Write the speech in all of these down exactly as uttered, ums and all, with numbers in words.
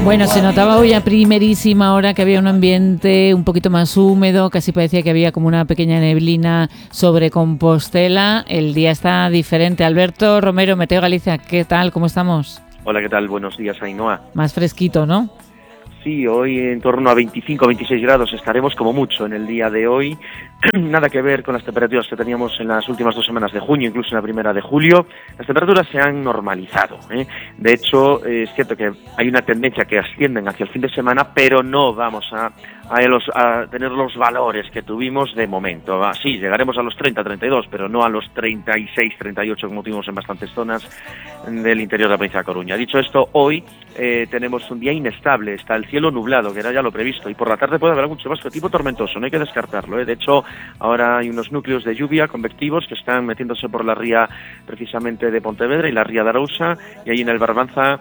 Bueno, se notaba hoy a primerísima hora que había un ambiente un poquito más húmedo, casi parecía que había como una pequeña neblina sobre Compostela. El día está diferente. Alberto Romero, Meteo Galicia, ¿qué tal? ¿Cómo estamos? Hola, ¿qué tal? Buenos días, Ainhoa. Más fresquito, ¿no? Sí, hoy en torno a veinticinco a veintiséis grados estaremos como mucho en el día de hoy. Nada que ver con las temperaturas que teníamos en las últimas dos semanas de junio, incluso en la primera de julio. Las temperaturas se han normalizado, ¿eh? De hecho, eh, es cierto que hay una tendencia que ascienden hacia el fin de semana, pero no vamos a, a, los, a tener los valores que tuvimos de momento. Ah, sí, llegaremos a los treinta, treinta y dos, pero no a los treinta y seis, treinta y ocho como tuvimos en bastantes zonas del interior de la provincia de Coruña. Dicho esto, hoy eh, tenemos un día inestable, está el cielo nublado, que era ya lo previsto, y por la tarde puede haber algún chubasco de tipo tormentoso, no hay que descartarlo, ¿eh? De hecho, ahora hay unos núcleos de lluvia convectivos que están metiéndose por la ría precisamente de Pontevedra y la ría de Arousa, y ahí en el Barbanza,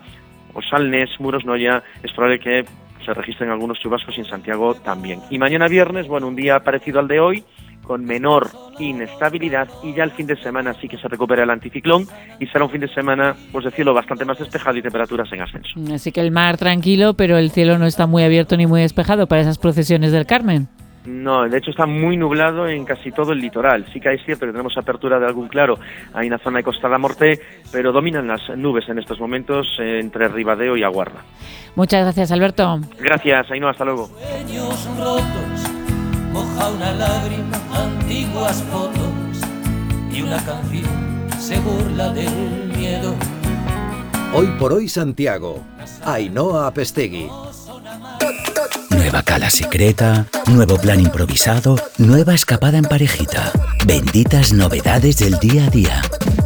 Osalnes, Muros, Noia, es probable que se registren algunos chubascos y en Santiago también. Y mañana viernes, bueno, un día parecido al de hoy, con menor inestabilidad, y ya el fin de semana sí que se recupera el anticiclón y será un fin de semana pues de cielo bastante más despejado y temperaturas en ascenso. Así que el mar tranquilo, pero el cielo no está muy abierto ni muy despejado para esas procesiones del Carmen. No, de hecho está muy nublado en casi todo el litoral. Sí que es cierto que tenemos apertura de algún claro ahí en la zona de Costa da Morte, pero dominan las nubes en estos momentos eh, entre Ribadeo y Aguarda. Muchas gracias, Alberto. Gracias, Ainhoa, hasta luego. Sueños rotos, moja una lágrima, antiguas fotos y una canción se burla del miedo. Hoy por hoy Santiago, Ainhoa Apestegui. Nueva cala secreta, nuevo plan improvisado, nueva escapada en parejita. Benditas novedades del día a día.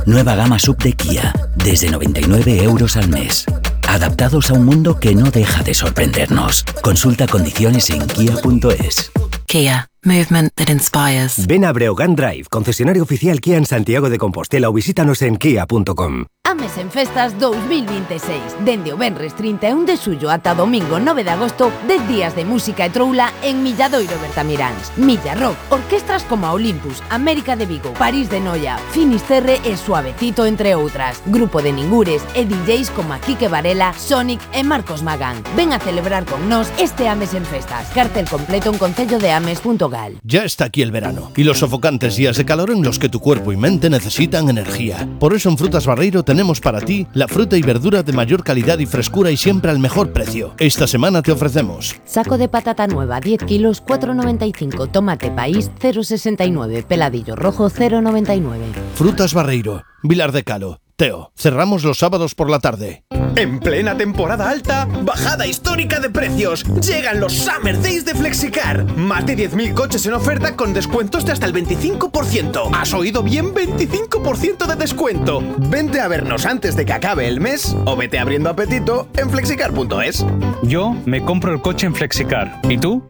Nueva gama sub de Kia, desde noventa y nueve euros al mes. Adaptados a un mundo que no deja de sorprendernos. Consulta condiciones en kia punto es. Kia. Movement that inspires. Ven a Breogán Drive, concesionario oficial Kia en Santiago de Compostela, o visítanos en kia punto com. Ames en Festas dos mil veintiséis. Dende o venres trinta e un de xullo ata domingo nove de agosto, dez días de música e troula en Milladoiro Bertamiráns. Milla Rock, orquestras como a Olympus, América de Vigo, París de Noia, Finisterre e Suavecito, entre outras. Grupo de Ningures e D Js como a Quique Varela, Sonic e Marcos Magán. Ven a celebrar con nós este Ames en Festas. Cartel completo en concello de ames punto gal. Ya está aquí el verano y los sofocantes días de calor en los que tu cuerpo y mente necesitan energía. Por eso en Frutas Barreiro tenemos para ti la fruta y verdura de mayor calidad y frescura y siempre al mejor precio. Esta semana te ofrecemos saco de patata nueva diez kilos cuatro noventa y cinco, tomate país cero sesenta y nueve, peladillo rojo cero noventa y nueve. Frutas Barreiro, Vilar de Calo. Teo, cerramos los sábados por la tarde. En plena temporada alta, bajada histórica de precios. Llegan los Summer Days de Flexicar. Más de diez mil coches en oferta con descuentos de hasta el veinticinco por ciento. ¿Has oído bien? veinticinco por ciento de descuento. Vente a vernos antes de que acabe el mes o vete abriendo apetito en flexicar punto es. Yo me compro el coche en Flexicar. ¿Y tú?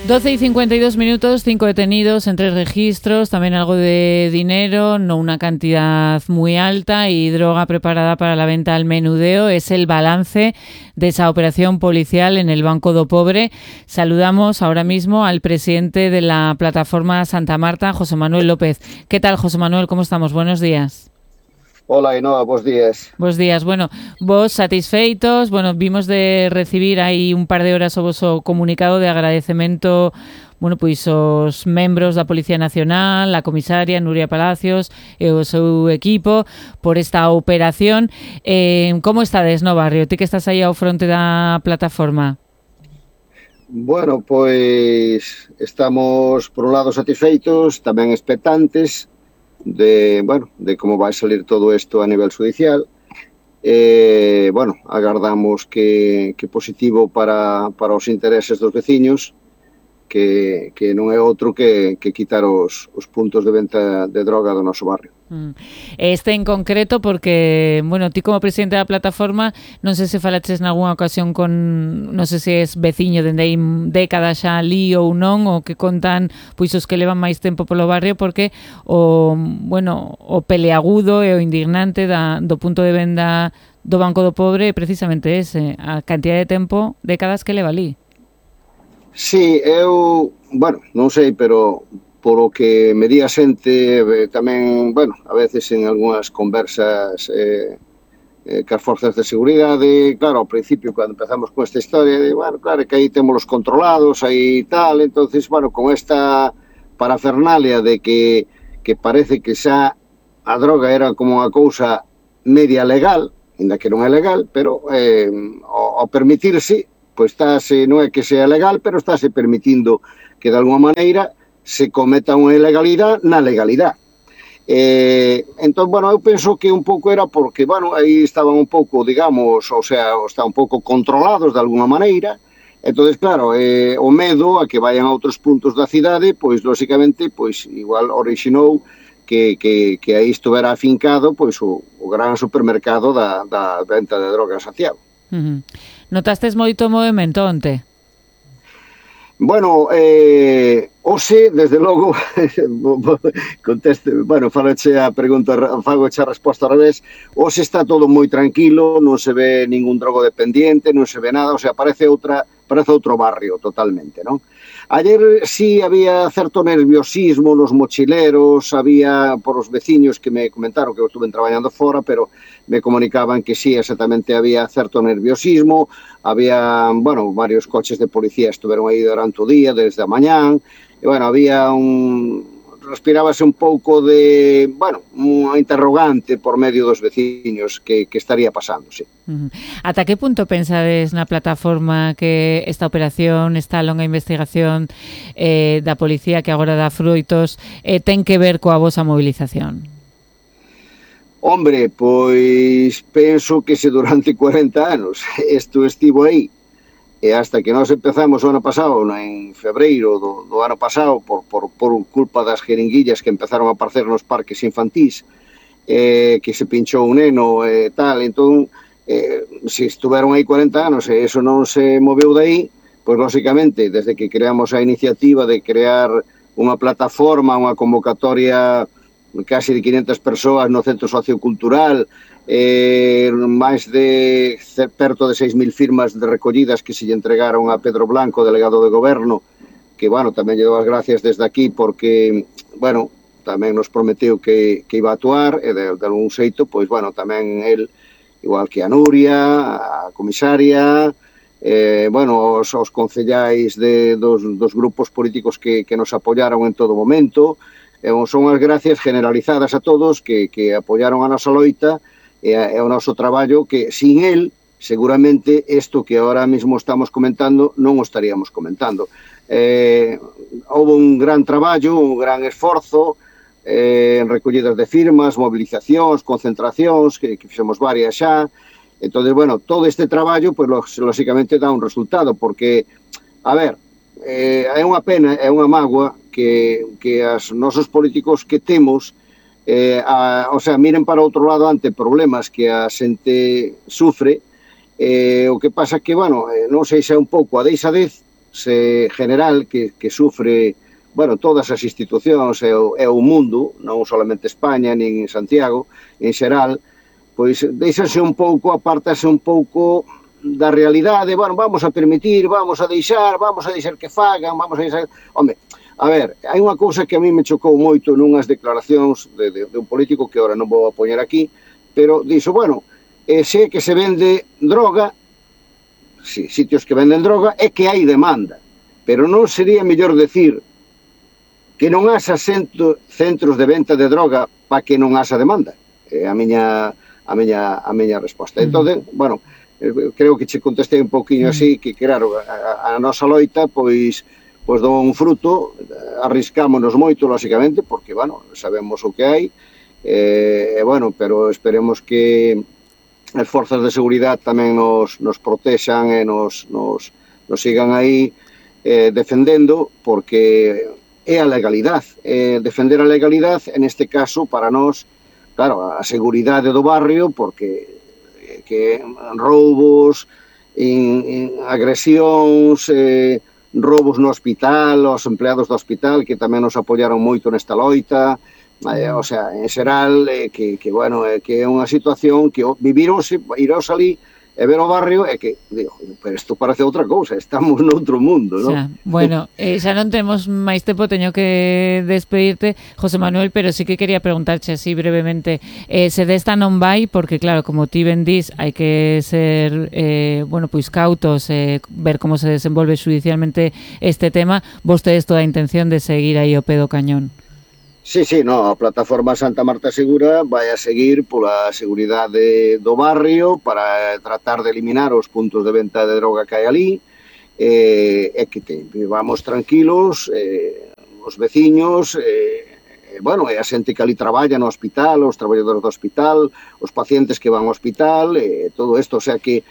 doce y cincuenta y dos minutos, cinco detenidos en tres registros, también algo de dinero, no una cantidad muy alta, y droga preparada para la venta al menudeo. Es el balance de esa operación policial en el Banco do Pobre. Saludamos ahora mismo al presidente de la plataforma Santa Marta, José Manuel López. ¿Qué tal, José Manuel? ¿Cómo estamos? Buenos días. Hola, Ainhoa, buenos días. Buenos días. Bueno, vos satisfeitos, bueno, vimos de recibir aí un par de horas o voso comunicado de agradecemento, bueno, pois os membros da Policía Nacional, a comisaria Nuria Palacios e o seu equipo por esta operación. Eh, como estades no barrio? Ti que estás aí ao fronte da plataforma. Bueno, pois estamos por un lado satisfeitos, tamén expectantes de, bueno, de como vai salir todo isto a nivel judicial. Eh, bueno, agardamos que, que positivo para, para os intereses dos veciños, que, que non é outro que, que quitar os, os puntos de venta de droga do noso barrio. Este en concreto porque, bueno, ti como presidente da plataforma, non sei se falaches nalgúna ocasión con, non sei se es veciño dende aí décadas xa ali ou non, ou que contan pois os que levan máis tempo polo barrio, porque o, bueno, o peleagudo e o indignante da, do punto de venda do Banco do Pobre é precisamente ese, a cantidad de tempo, décadas que leva ali. Sí, eu, bueno, non sei, pero por o que me di a xente, tamén, bueno, a veces en algunhas conversas eh, eh, que as forzas de seguridade, claro, ao principio, cando empezamos con esta historia, de, bueno, claro, que aí temos los controlados, aí tal, entonces, bueno, con esta parafernalia de que, que parece que xa a droga era como unha cousa media legal, ainda que non é legal, pero eh, ao, ao permitirse, pois estáse, non é que sea legal, pero estáse permitindo que de alguma maneira se cometa unha ilegalidade na legalidade. Eh, entón, bueno, eu penso que un pouco era porque, bueno, aí estaban un pouco, digamos, o sea, estaban un pouco controlados de alguna maneira, entonces, claro, eh, o medo a que vayan a outros puntos da cidade, pois, lóxicamente, pois, igual orixinou que, que, que aí estuvera afincado, pois, o, o gran supermercado da, da venta de drogas en Santiago. Uh-huh. Notastes moito movimento onte? Bueno, eh, hoxe, desde logo, conteste, bueno, faloche a pregunta, fagoche a resposta ao revés, hoxe está todo moi tranquilo, non se ve ningún drogodependiente, non se ve nada, o sea, parece outra, parece outro barrio totalmente, non? Ayer sí había certo nerviosismo nos mochileros, había por os veciños que me comentaron que eu estuve traballando fora, pero me comunicaban que sí, exactamente había certo nerviosismo, había, bueno, varios coches de policía estuveron aí durante o día, desde a mañán, e, bueno, había un... respirábase un pouco de, bueno, unha interrogante por medio dos veciños que, que estaría pasando, sí. Uh-huh. Ata que punto pensades na plataforma que esta operación, esta longa investigación eh, da policía que agora dá froitos, eh, ten que ver coa vosa movilización? Hombre, pois penso que se durante cuarenta anos isto estivo aí, e hasta que nós empezamos o ano pasado, en febreiro do, do ano pasado, por, por, por culpa das jeringuillas que empezaron a aparecer nos parques infantís, eh, que se pinchou un neno e eh, tal, entón, eh, se estuveron aí cuarenta anos e eso non se moveu de aí, pois, lóxicamente, desde que creamos a iniciativa de crear unha plataforma, unha convocatoria casi de quinhentas persoas no Centro Sociocultural, eh, máis de perto de seis mil firmas de recollidas que se lle entregaron a Pedro Blanco, delegado de Goberno, que, bueno, tamén lle dou as gracias desde aquí porque, bueno, tamén nos prometeu que, que iba a actuar e de, de algún xeito, pois, bueno, tamén el, igual que a Nuria, a comisaria, eh, bueno, os, os concellais de, dos, dos grupos políticos que, que nos apoyaron en todo momento, e son as gracias generalizadas a todos que, que apoyaron a nosa loita e, e o noso traballo, que sin el, seguramente, isto que ahora mismo estamos comentando, non o estaríamos comentando. Eh, houve un gran traballo, un gran esforzo, eh, en recollidas de firmas, movilizacións, concentracións, que, que fixemos varias xa. Entón, bueno, todo este traballo, pois, lóxicamente, dá un resultado, porque, a ver, eh, é unha pena, é unha mágoa que, que as nosos políticos que temos, eh, a, o sea, miren para outro lado ante problemas que a xente sufre, eh, o que pasa que, bueno, eh, non sei se é un pouco a deixadez se general que, que sufre, bueno, todas as institucións e o, e o mundo, non solamente España, nin Santiago, en xeral, pois deixase un pouco, apartase un pouco da realidade, bueno, vamos a permitir, vamos a deixar, vamos a deixar que fagan, vamos a deixar... Home, a ver, hai unha cousa que a mí me chocou moito nunhas declaracións de, de, de un político que ahora non vou a poñer aquí, pero dixo, bueno, eh, se que se vende droga, sí, sitios que venden droga, é que hai demanda, pero non sería mellor decir que non haxa centro, centros de venta de droga para que non haxa demanda? É a miña, a miña, a miña resposta. Mm. Entón, bueno, creo que che contestei un pouquinho así, que claro, a, a nosa loita, pois, pois dou un fruto, arriscámonos moito, lóxicamente, porque, bueno, sabemos o que hai, e, bueno, pero esperemos que as forzas de seguridade tamén nos, nos protexan e nos, nos, nos sigan aí eh, defendendo, porque é a legalidade, é defender a legalidade, en este caso, para nós, claro, a seguridade do barrio, porque que roubos, in, in agresións, eh, roubos no hospital, os empleados do hospital que tamén nos apoiaron moito nesta loita, eh, o sea, en xeral, eh, que, que, bueno, eh, que é unha situación que vivironse, irós ali, e ver o barrio é que, digo, pero isto parece outra cousa, estamos noutro mundo, non? Xa, bueno, eh, xa non temos máis tempo, teño que despedirte, José Manuel, pero sí que quería preguntarche así brevemente, eh, se desta non vai, porque claro, como ti ben dís, hai que ser, eh, bueno, pois cautos, eh, ver como se desenvolve judicialmente este tema, vostedes toda a intención de seguir aí ao pé do cañón. Sí, sí, no, a plataforma Santa Marta Segura vai a seguir pola seguridade do barrio para tratar de eliminar os puntos de venta de droga que hai ali, e, e que te, vamos tranquilos, eh, os veciños, eh, bueno, e a xente que ali traballa no hospital, os traballadores do hospital, os pacientes que van ao hospital, e todo isto, o sea que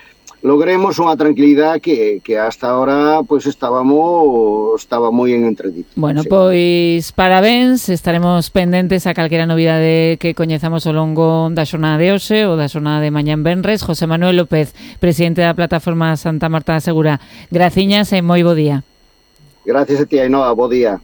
logremos unha tranquilidade que, que hasta ahora pues estábamos estaba moi en entredito. Bueno, sí. Pois parabéns, estaremos pendentes a calquera novidade que coñezamos ao longo da xornada de hoxe ou da xornada de mañá en venres. José Manuel López, presidente da plataforma Santa Marta Segura, graciñas e moi bo día. Gracias a ti, Ainhoa, bo día.